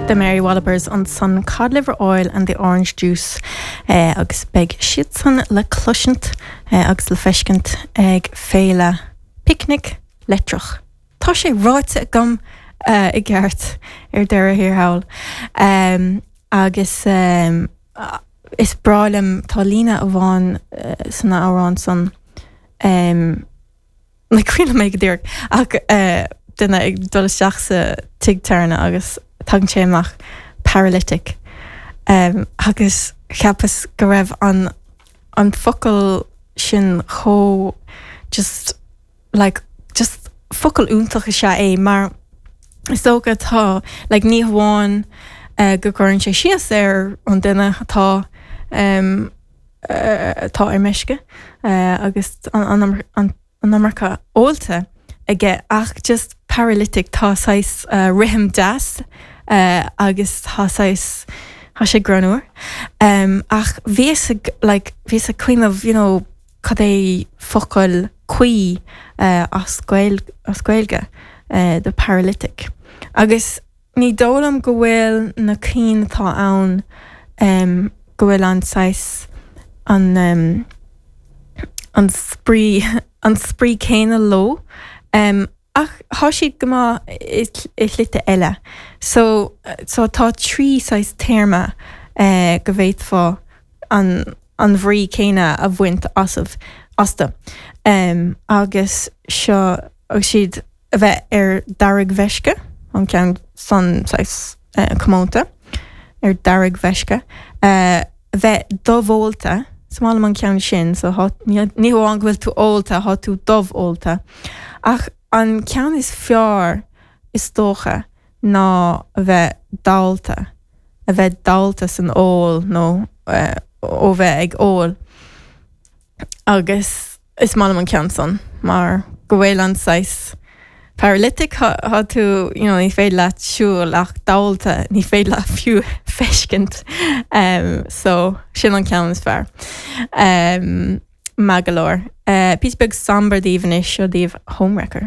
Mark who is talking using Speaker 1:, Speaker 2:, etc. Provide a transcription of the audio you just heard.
Speaker 1: The Mary Wallopers ansan Cod Liver Oil and the Orange Juice agus beidh siadsan le cloisint agus le feiscint ag Féile Picnic Leitreach. Tá sé ráite agam i gceart ar deireadh thiar thall. Agus is breá liom, tá líne amháin san amhrán san, Ní cuimhin liom é go díreach ach duine ag dul isteach sa tigh tábhairne agus tagann sé amach paralytic agus cheapas go raibh an an focal sin chomh just like just focal iontach is ea é mar is dócha tá like ní hamháin go gcuireann sé síos ar an duine atá atá ar meisce agus an iomarca ólta aige ach just paralytic tá saghas rithim deas agus tá saghas tá sé greannmhar. Ach bhíos ag like bhíos ag cuimhneamh you know cad é focal cuí as as Gaeilge do paralytic agus Ní dóigh liom go bhfuil na cinn atá ann, go bhfuil an saghas, an, an spraoi, an spraoi céanna leo. Ach thá siad go maith i shlite eile. So, so tá 3 saghas téarma go bhféadfá an, an bhrí céanna a bhaint asaibh, astu. Agus seo, agus siad. a bheith ar deargmheisce, an ceann san saghas comónta, ar deargmheisce, a bheith dubhólta, is maith liom an ceann sin, so thá, ní hamháin go bhfuil tú ólta, thá tú dubhólta. Ach an ceann is fearr, is dócha, ná a bheith dallta, a bheith dallta san ól nó ó bheith ag ól. Agus is maith liom an ceann san mar go bhfuil an saghas paralytic, thá tú, you know, ní féidir leat siúl ach dallta, ní féidir leat fiú feiscint. So, sin an ceann is fearr. Maith go leor. Píosa beag somber daoibh anois, seo daoibh Homewrecker.